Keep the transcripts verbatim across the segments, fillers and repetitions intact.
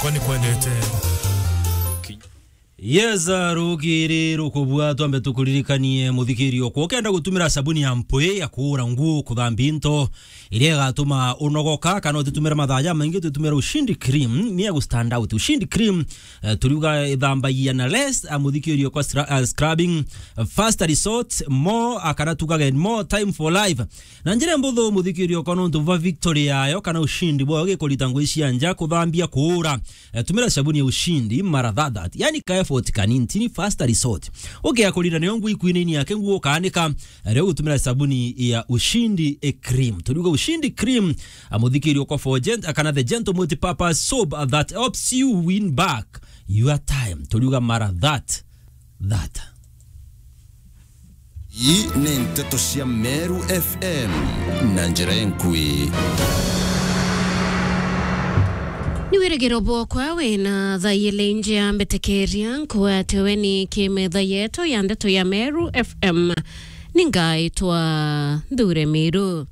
Kwani kwendete. Yes, uh, rugiri rukubua, twambe tukuririkanie muthikiri okwa. Ukenda gutumira sabuni ya mpwi ya kuura nguo, kuthambia into, iria igatuma unogoka, kana utitumire mathaa jamaingi, utitumire Ushindi Cream, ni ya gu stand out. Ushindi Cream, eh, turiuga ithambagia na less, ah, muthikiri okwa sra-, ah, scrubbing, ah, first resort, more, ah, kana tugage more time for life. Na njira mbuthu muthikiri okwa nontu bwa victory yayo kana ushindi bwayo gikurita ngui cia nja, kuthambia, kuura, eh, tumira sabuni ya Ushindi mara thathat. Yani ka effort kanini, tini first resort. Ukia kurira niyo ngui kwinini yake nguo ukaanika, eh, riu gutumira sabuni ya Ushindi, eh, cream. Turiuga Ushindi cream, ah, muthikiri okwa for gent-, kana the gentle multi-purpose soap, ah, that helps you win back your time. Turiuga mara that, that. Ii ni nteto cia Meru F M na njira enkui. Ni wirigiro bwokwa wina thaa ili nji ya mbetekeria, nkuatwe ni kimetha yetu ya ndeto ya Meru F M. Ningaitwa Nthure Miru.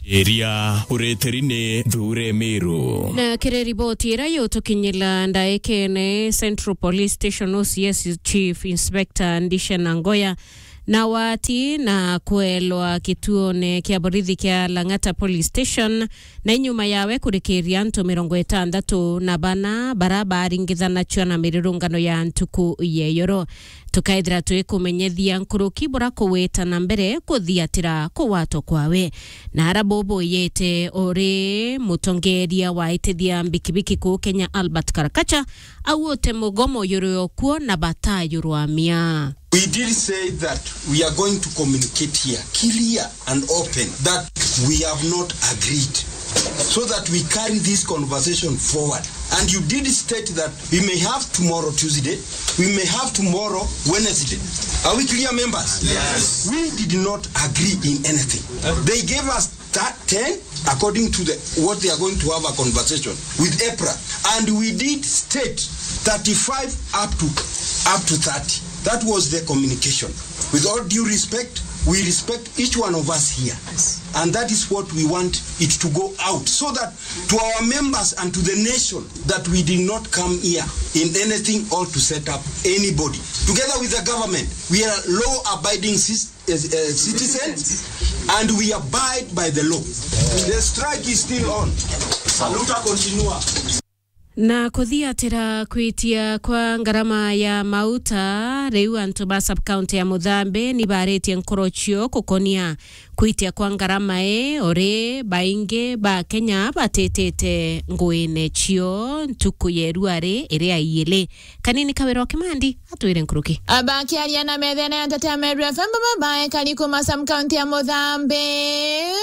Iria ureteri ni Nthure Miru. Na kiri riboti iria yutukinyira ndaikene, Central Police Station O C S Chief Inspector Ndisha Nangoya na wati na kwelwa kituone kia borithi kia Lang'ata Police Station, na inyuma yawe kurikiria antu mirongo itandatu na bana bara baringithanachwa na mirurungano ya ntuku ya iyoro. Tukaethira twikumenyethia nkuruki bura kugwita na mbere kuthiatira kugwatwa kwawe. Na ara bubuyite uri mutongeria wa itithia mbikibiki kuu Kenya, Albert Karakacha, augute mugomo yuri okuo na batayurwamia. We did say that we are going to communicate here clear and open that we have not agreed, so that we carry this conversation forward. And you did state that we may have tomorrow, Tuesday, we may have tomorrow, Wednesday. Are we clear, members? Yes. We did not agree in anything. They gave us that ten, according to the, what they are going to have a conversation with EPRA. And we did state thirty-five up to, up to thirty. That was the communication. With all due respect, we respect each one of us here. And that is what we want it to go out, so that to our members and to the nation, that we did not come here in anything or to set up anybody. Together with the government, we are law-abiding cis-, uh, uh, citizens, and we abide by the law. The strike is still on. Saluta continua. Na kuthiatira kwitia kwa ngarama ya mauta, riu antu ba sub-county ya Muthambi ni baritie nkoro cio gukonia kwitia kwa ngarama ii, uri baingi ba Kenya batitite nguine cio ntuku ya iruari iria iili. Kanini Kawira wa Kimandi atwire nkuruki. Abakiaria na methene ya nteto ya Meru F M, baba ekari kuma sub-county ya Muthambi,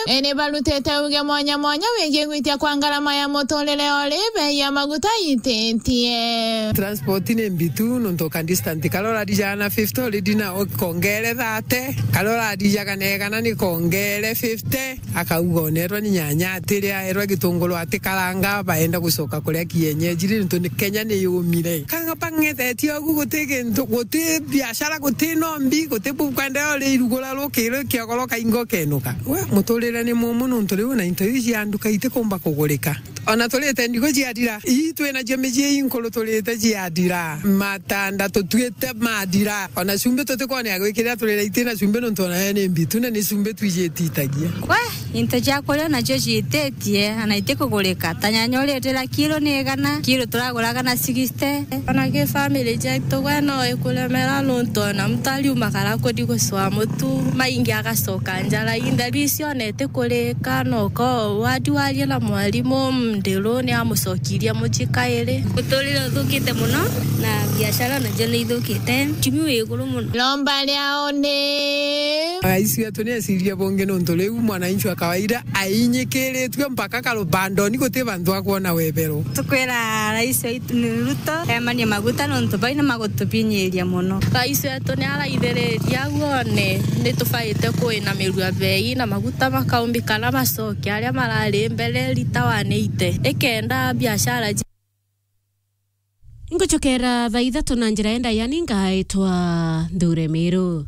ene barutite uge mwanya mwanya wigii gwitia kwa ngarama ya muturire uri bei ya maguta ititie. Transport ni mbitu, nontu ka distance, karora rijana na fifty already na ukongere thirty, karora rijaga na igana ni kongere fifty. Akauga onerwa ni nyanya atiri aerwa gitunguru atikaranga, baenda gucoka kuria kienyeji ri, nontu ni Kenya ni yumire. Kanga bang'ethetie ugu, guti gintu, guti biashara, guti nombi, guti bukwenderea uri irugura rukiri kiogoro kaingo kenuka. We, muturire ni mumu nontu riu na into iu cia nduka itikumba kugurika. Ona turite ndigu ciathira, ii twinacio micii inkuru turite ciathira, matanda tutuite mathira, ona cumbi tutikwona ya gwikirira turira itina cumbi nontu ona yo ni mbitu na ni cumbi twijititagia. We, into cia kuria nacio ciititie, ana itikugurika. Ta nyanya uria itwira kilo ni igana, kilo turaguraga na sixty. Ona ki family cietu, we no ikuremera nontu ona mtu ariuma kara kuthi gucwa mutu, maingi agacoka njara. Intheru icio ona itikurika, no ko wadi waria na mwarimu, ndiru ni amucokirie mucii kairi. Muturire uthukite muno, na biashara nacio ni ithukite. Uchumi wi iguru muno. Iromba riao ni Rais wetu ni eciria bungi nontu riu mwananchi wa kawaida ainyikiritue mpaka karubandoni, guti bantu akwona webero. Tukwira rais waitu ni Ruto emanie maguta nontu bau ni magutubinyiria muno. Rais wetu ni araithiriria au one ni tubaite kuinamirua bei na maguta makaumbikana macoke aria marari mbere rita wa neite, ikenda biashara ji- Ngucokera thaa ithatu na njira enda, yani ngaitwa Nthure Miru.